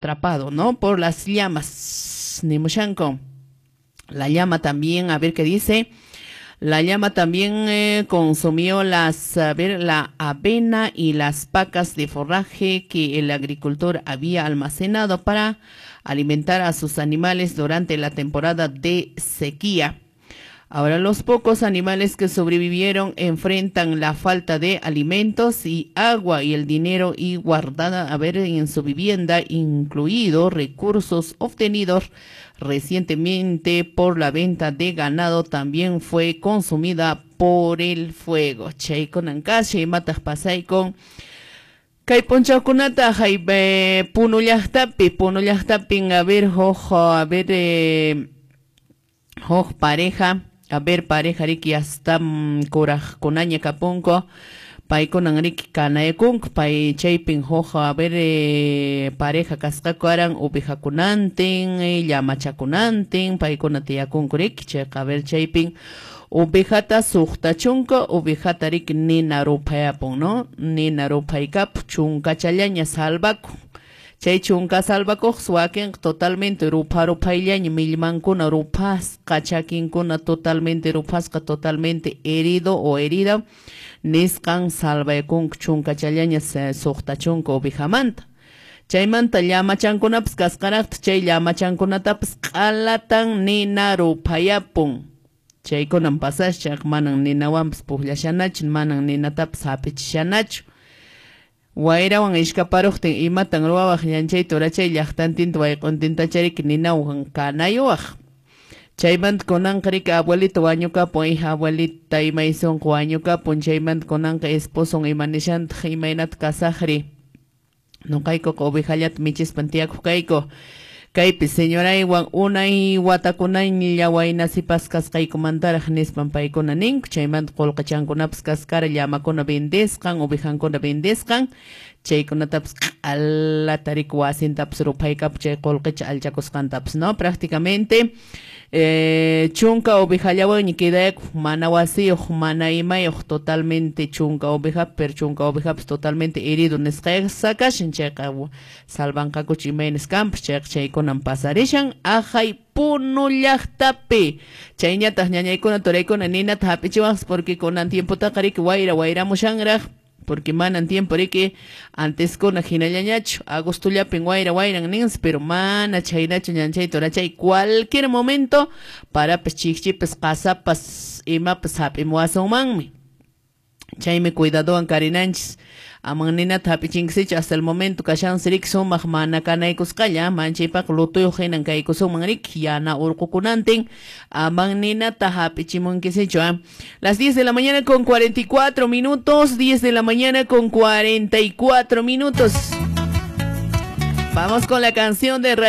Atrapado, ¿no? Por las llamas. Nimushanko. La llama también, a ver qué dice. La llama también consumió a ver, la avena y las pacas de forraje que el agricultor había almacenado para alimentar a sus animales durante la temporada de sequía. Ahora los pocos animales que sobrevivieron enfrentan la falta de alimentos y agua y el dinero y guardada, a ver, en su vivienda, incluido recursos obtenidos recientemente por la venta de ganado, también fue consumida por el fuego. Chaykunan kashan, imataq pasaykun kay p'unchawkunata hay Puno llaqtapi, Puno llaqtapin, a ver, huk, a ver, huk pareja, a ver, pareja riki hasta kuraqkunaña kapunku, paykunan riki kanayakunku, pay chaypin huk, a ver, pareja kasqaku aran ovejakunantin, llamachakunantin, paykuna tiyakunku riki, chayqa, a ver, chaypin ovejata 60 ovejata riki nina ruphayapun, ¿no? Nina ruphaykapu, chunkachallaña salvakun. Chay chunka salvakuq wakinqa totalmente rupha ruphayllaña, millmankuna ruphasqa, chakinkuna totalmente ruphasqa, totalmente herido o herida, nisqan salvakunku chunkachallaña 60 ovejamanta. Chaymanta llamachankunapas kasqaraqta, chay llamachankunatapas q'alatan nina ruphayapun. Chaykunan pasascha, manan ninawanpas pukllashanachu, manan ninatapas hap'ichishanachu. Wayrawan ishkaparuqtin imatan ruwawaq llanchay turachay llaqtantinta wayq'untinta ninawan kanayuwaq. Chaymanta kunanqa riki abuelita wañukapun, hija abuelita imay sunqu wañukapun, chaymanta kunanqa esposon ima nishantaq imaynata kasaqri. Nuqaykuqa ovejallata michispan tiyakuq kayku. Kaypi señoraywan unay watakunaña wayna sipas kasqaykumantaraq nispan paykuna ninku, chaymanta qullqichankunapas kaskara llamakuna vendesqan, ovejankuna vendesqan, chaykunatapas q'alata riki wasintapas ruphaykapu chay qullqicha allchakusqantapas, ¿no? Prácticamente chunka ovejallawanña quedayakuq, mana wasiyuq, mana imayuq, totalmente chunka oveja, pero chunka ovejapas totalmente herido nisqayqa kashan, chayqa salvanqakuchu imaynas kanpas, chayqa chaykunan pasarishan ahay Puno llaqtapi. Chayñataq ñañaykuna turaykuna ninata hap'ichiwaqpas porque kunan tiempotaqa riki wayra wayramushanraq, porque manan tiempo riki anteskuna hinallañachu, agostollapin wayra wayran ninsi, pero mana chhaynachu ñanchay turachay, cualquier momento parapas chikchipas qasapas imapas hap'imuwasunmanmi. Chaymi cuidadowan karinanchis, aman ninata hap'ichinkisichu hasta el momento kashansi riki sumaq mana kanaykusqalla, manchaypaq lutuyuq hinan kaykusunman riki, yana urqukunantin, aman ninata hap'ichimunkisichu. Las 10 de la mañana con 44 minutos, 10 de la mañana con 44 minutos. Vamos con la canción de Raíz.